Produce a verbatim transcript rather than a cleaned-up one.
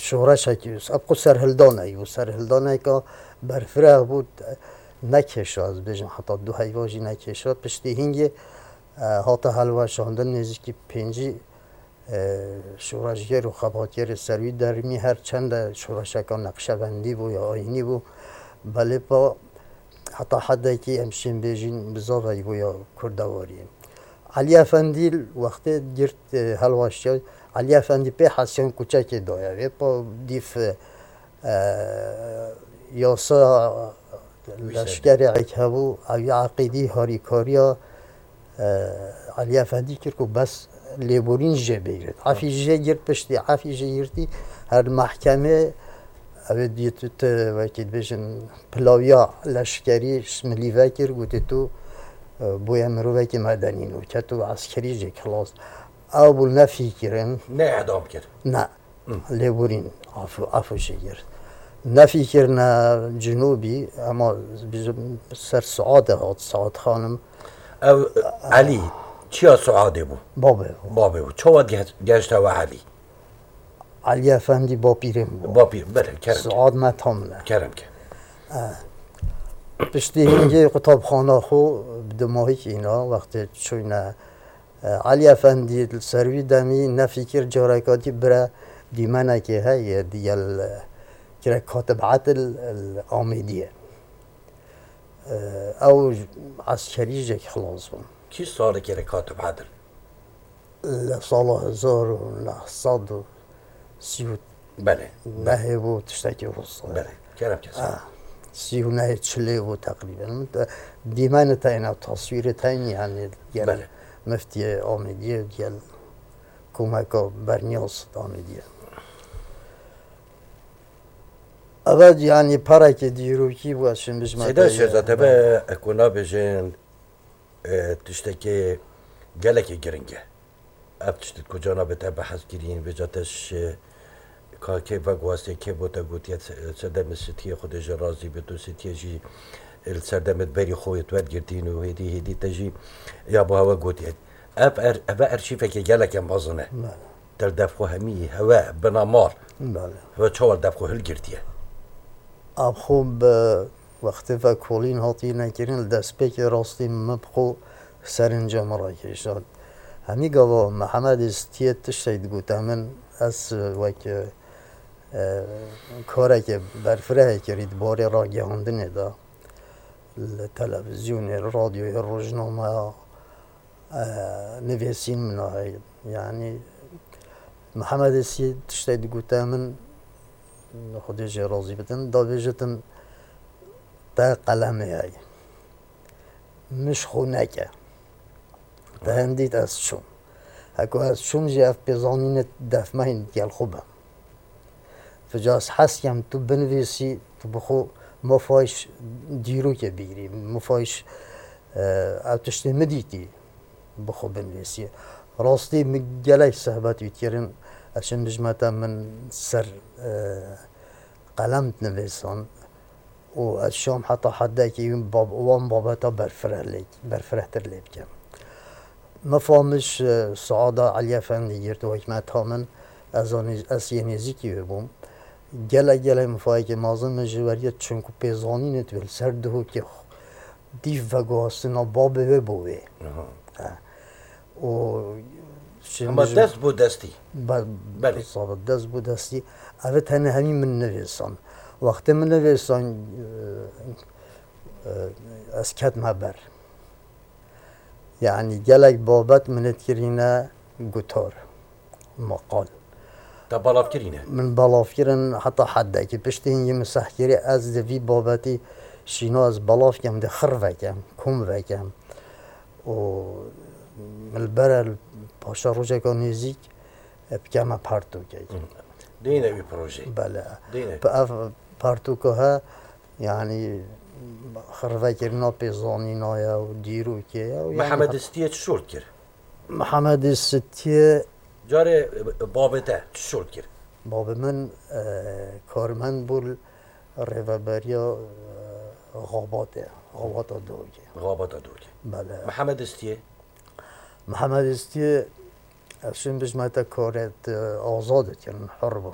Şoreşekî, ev ku serhildanekî bû, serhildaneka berfireh bû, nekêşa, ez bêjim, heta du heyva jî nekêşa. Piştî hingê, e, hate helweşandin, nêzîkî pêncî, e, şoreşger û xebatgerê ser wî dermî, her çende şoreşeka neqşebendî bû ya ayînî bû, belê pa heta hedekî em şên bêjîn bizaveyî bû ya kurdewariyê. Elî Efendî wextê girt, e, helwaştiya, Elî Efendî pê hesiyan kuçekê daye wê, pa dîf, e, yasa leşkerê ek hebû, ew yê eqîdî harîkariya, e, Elî Efendî kir ku bes lêborîn jê bigrit. Efî jê girt, piştî efî jê girtî, her mehkemê, ew ê dît tu wekî dibêjin pilawiya leşkerî ji milî vekir, gotê tu, e, bûye mirovekî medenî nû, ket û eskerî jê xilas. Ew bû nefîkirin. Ne edam kir. Ne. Lêborîn, afû, afû jê girt. Nefîkirine cinûbî, ema bizim ser Suadê hat, Suad xanim. Ew Elî, çiya Suadê bû? Babê bû. Babê bû. Çawa ge-, geşta we Elî? Elî Efendî bapîrê min bû. Bapîr, belê, kerem ke. Suad me tam ne. Kerem ke. Piştî hingê qutabxana xwe bi dimahîk îna, wextê çûyne, e, Elî Efendî li ser wî demî nefîkir, careka dî bire dîmenekê heye, digel, e, kirek Katib Edil, e, Amêdiyê. E, ew eskerî jek xilas bûn. Kî salekê re Katib Edil? Li sala hezar û neh sed û sî û nehê bû, tiştekî wisa. Belê, kerem kes. Ah, sî û nehê çilê bû teqrîben. Min te, dîmenê te yê ne, taswîrê te yê, yanî gel Belê. Miftiyê Amêdiyê, gel komeka Berniyaz Amêdiyê. Eve, yanî, perekê dîrokî bû, ez şim bijme Seyda te yê. Şêrza, te be, eko nabêjin, e, tiştekê gelekî giring e. Ev tişt ku cana bi te behs kirîn, vêca te şi, ka kê veguhastê, kê bo te gotiye, se-, sedemê Sitiyê, Xwedê jê razî bit, û Sitiyê jî, e, li serdemê berî xwe yê tu wergirtîn û hêdî, hêdî te jî ya bo hewe gotiye. Ev er-, ev erşîveke geleke mezin e. Bele. Te li def xwe hemî hewe bina mal. Bele. Hewe çawa li def xwe hilgirtiye? Ev xwe bi wextê vekolîn hatî nekirin, li destpêkê rastî min bi xwe serinca min rakêşand. Hemî gava Mehemedê Stiyê tiştek digote min, ez wek, e, kareke berfirehê kirî di barê ragihandinê de, li televîzyonê, li radyoyê, rojnameya, e, nivîsîn min a heye. Yanî Mehemedê Stiyê tiştek digote min, Xwedê jê razî bitin, da bêjitin te qelemê heye. Min ji xwe neke. Te hindît ez çûm. Heko ez çûm jî ev pêzanînê def me hîn gel xwe be. Vêca ez hez kem tu binivîsî, tu bi xwe mafayî dîrokê bigirî, mafayî, e, ev tiştê min dîtî bi xwe binivîsî. Rastî min gelek sehbet wî kirin, ez çim bijmete min ser, e, qelem dinivîsan. û ez şam heta hedekî wî bab-, wan babeta berfireh lê, berfirehtir lê bikim. Mifamij, e, Saada Elî Efendî girt û hikmeta min, ez anî-, ez yê nêzîkî wê bûm. Gelek, gelek mifayekê mezin min ji weriye, çunku pêzanînê tu li ser dihokê xwe dîf veguhastina babê wê bo wê. Aha. E, û Hema dest bo destî. Be-, Belê. Sabe dest bo destî. Ev tenê hemî min nivîsan. Wextê min nivîsan, e, e, ez ketme ber. Yanî gelek babet min ê dikirîne gutar, maqal. Te belav kirîne? Min belav kirin heta hedekî. Piştî hingî min seh kirî, ez di vî babetî şîna ez belav kem, di xir vekem, kom vekem. û min li ber e li paşa rojeka nêzîk, e, bikeme pertûkek. Hı. Dêne wî projeyê. Bele. Dêne. Pe-, ev pertûka he, yanî xirvekirina pêzanîna ye û dîrokê ye û yanî Mihemed Istiyê çi şol kir? Mihemed Istiyê Carê, e, babê te çi şol kir? Babê min, e, karmend bû li rêveberiya, e, Xabatê, Xabata Dogê. Xabata Dogê. Bele. Mihemed Istiyê? Mihemed Istiyê, ez şim bijme te karê te azad dikin, hur bûn.